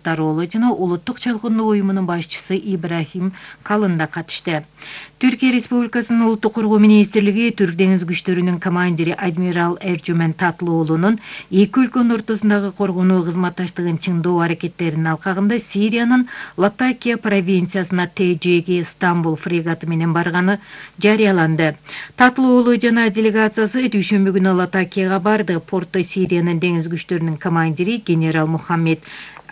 Кылычдароğlu жана Улуттук чалгындоо уюмунун башчысы Ибрахим Калын да катышты. Түркия Республикасынын Улуттук коргоо министрлиги Түрк деңиз күчтөрүнүн командири адмирал Эржүмен Татлуулунун эки өлкөнүн ортосундагы коргонуу кызматташтыгын чыңдоо аракеттеринин алкагында Сириянын Латакия провинциясына ТЖГ Стамбул фрегаты менен барганы жарыяланды. Татлуулу жана делегациясы дүйшөмбү күнү Латакияга барды. Портто Сириянын деңиз күчтөрүнүн командири генерал Мухаммед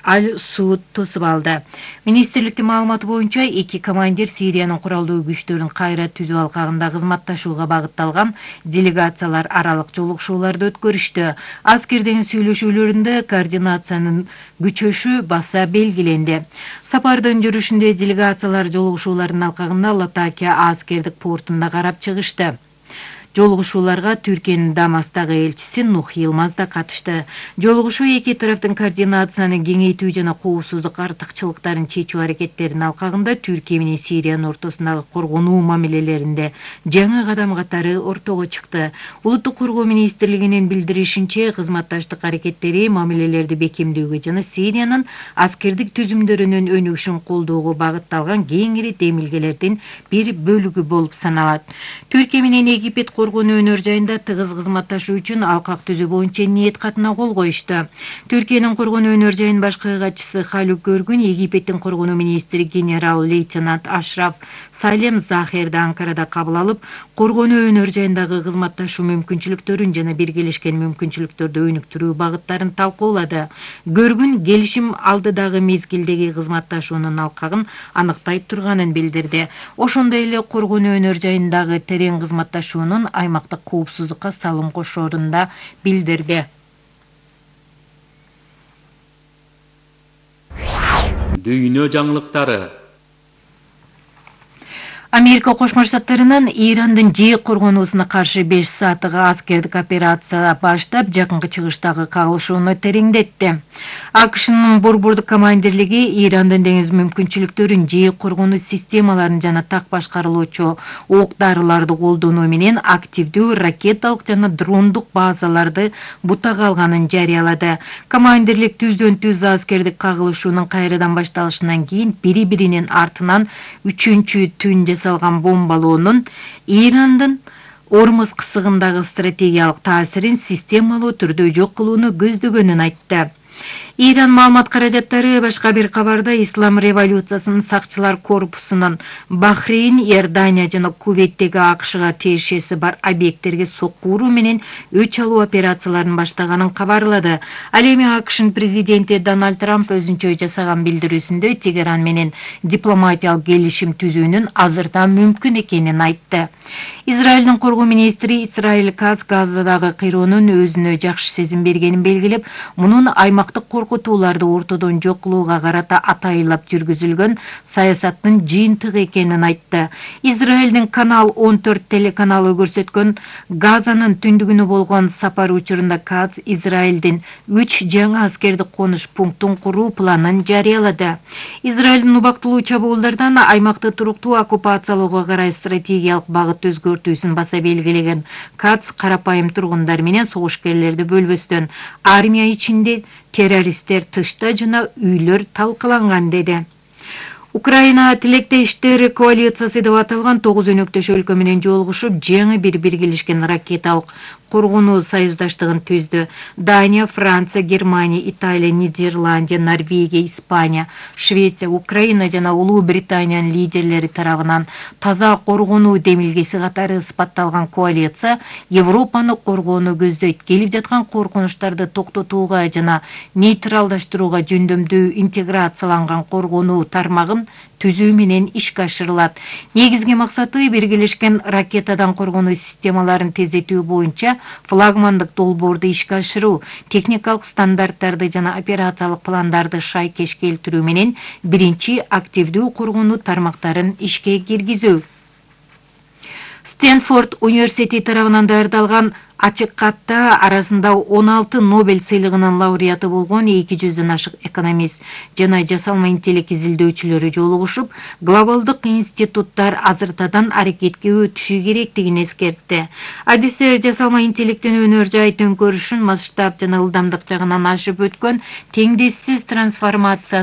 Аль-Суд тосуп алды. Министрликтин маалыматы боюнча эки командир Сириянын куралдуу күчтөрүн кайра түзүү алкагында кызматташууга багытталган делегациялар аралык жолугушууларды өткөрүштү. Аскердин сүйлөшүүлөрүндө координациянын күчөшү баса белгиленди. Сапардын жүрүшүндө делегациялар жолугушуулардын алкагында Латакия аскердик портунда карап чыгышты. Жолугушууларга Түркиянын Дамастагы элчиси Нух Йылмаз да катышты. Жолугушуу эки тараптын координацияны кеңейтүү жана коопсуздук артыкчылыктарын чечүү аракеттеринин алкагында Түркия менен Сириянын ортосундагы коргонуу мамилелеринде жаңы кадам катары ортого чыкты. Улуттук коргоо министрлигинин билдиришинче, кызматташтык аракеттери мамилелерди бекемдөөгө жана Сириянын аскердик түзүмдөрүнүн өнүгүшүн колдоого багытталган кеңири демилгелердин бир бөлүгү болуп саналат. Түркия менен Египет коргонуу өнөр жайында тыгыз кызматташуу үчүн алкак түзүү боюнча ниет катына кол коюшту. Түркиянын коргонуу өнөр жайынын башкы катчысы Халук Көргүн Египеттин коргонуу министри генерал-лейтенант Ашраф Салем Захерди Анкарада кабыл алып, коргонуу өнөр жайындагы кызматташуу мүмкүнчүлүктөрүн жана биргелешкен мүмкүнчүлүктөрдү өнүктүрүү багыттарын талкуулады. Көргүн келишим алдыдагы мезгилдеги кызматташуунун алкагын аныктай турганын билдирди. Ошондой эле коргонуу өнөр жайындагы терең кызматташуунун аймактык коопсуздукка салым кошоорун да билдирди. Дүйнө жаңылыктары. Америка Кошмо Штаттарынын Ирандын ЖЭ коргонуусуна каршы 5 сааттык аскердик операция баштап, жакынкы чыгыштагы кагылышууну тереңдетти. АКШнын борбордук командирлиги Ирандын деңиз мүмкүнчүлүктөрүн ЖЭ коргонуу системаларын жана так башкарылуучу ок-дарыларды колдонуу менен активдүү ракеталык жана дрондук базаларды бутага алганын жарыялады. Командирлик түздөн түз аскердик кагылышуунун кайрадан башталышынан кийин бири-биринин артынан 3-түн жасалган бомбалоонун Ирандын Ормуз кысыгындагы стратегиялык таасирин системалуу түрдө жок кылууну көздөгөнүн айтты. Иран маалымат каражаттары башка бир кабарда Ислам революциясынын сакчылар корпусунун Бахрейн, Иордания жана Кувейттеги АКШга тиешеси бар объекттерге сокку уруу менен өч алуу операцияларын баштаганын кабарлады. Ал эми АКШнын президенти Дональд Трамп өзүнчө жасаган билдирүүсүндө Тегеран менен дипломатиялык келишим түзүүнүн азырдан мүмкүн экенин айтты. Израилдин коргоо министри Исраиль Кац Газадагы кыйроонун өзүнө жакшы сезим бергенин белгилеп, мунун аймактык коркутууларды ортодон жок кылууга карата атайылап жүргүзүлгөн саясаттын жыйынтыгы экенин айтты. Израилдин Канал 14 телеканалы көрсөткөн Газанын түндүгүнө болгон сапар учурунда Кац Израилдин 3 жаңы аскердик конуш пунктун куруу планын жарыялады. Израилдин убактылуу чабуулдардан аймакты туруктуу оккупациялоого карай стратегиялык багыт өзгөртүүсүн баса белгилеген Кац карапайым тургундар менен согушкерлерди бөлбөстөн армия ичинде террористтер тышта жана үйлөр талкаланган деди. Украина тилектештер коалициясы деп аталган 9 өнөктөш өлкө менен жолугушуп, жаңы бир биргелешкен ракеталык коргонуу союздаштыгын түздү. Дания, Франция, Германия, Италия, Нидерландия, Норвегия, Испания, Швеция, Украина жана Улуу Британиянын лидерлери тарабынан таза коргонуу демилгеси катары ысбатталган коалиция Европаны коргоону көздөйт. Келип жаткан коркунучтарды токтотууга жана нейтралдаштырууга жөндөмдүү интеграцияланган коргонуу тармагын түзүү менен ишке ашырылат. Негизги максаты биргелешкен ракетадан коргонуу системаларын тездетүү боюнча флагмандык долбоорду ишке ашыруу, техникалык стандарттарды жана операциялык пландарды шайкеш келтирүү менен биринчи активдүү коргонуу тармактарын ишке киргизүү. Стэнфорд университети тарабынан даярдалган ачык катта арасында 16 Нобель сыйлыгынын лауреаты болгон 200дөн ашык экономист жана жасалма интеллект изилдөөчүлөрү жолугушуп, глобалдык институттар азыртадан аракетке өтүшү керектигин эскертти. Адистер жасалма интеллекттин өнөр жай төңкөрүшүн масштаб жана ылдамдык жагынан ашып өткөн теңдессиз трансформация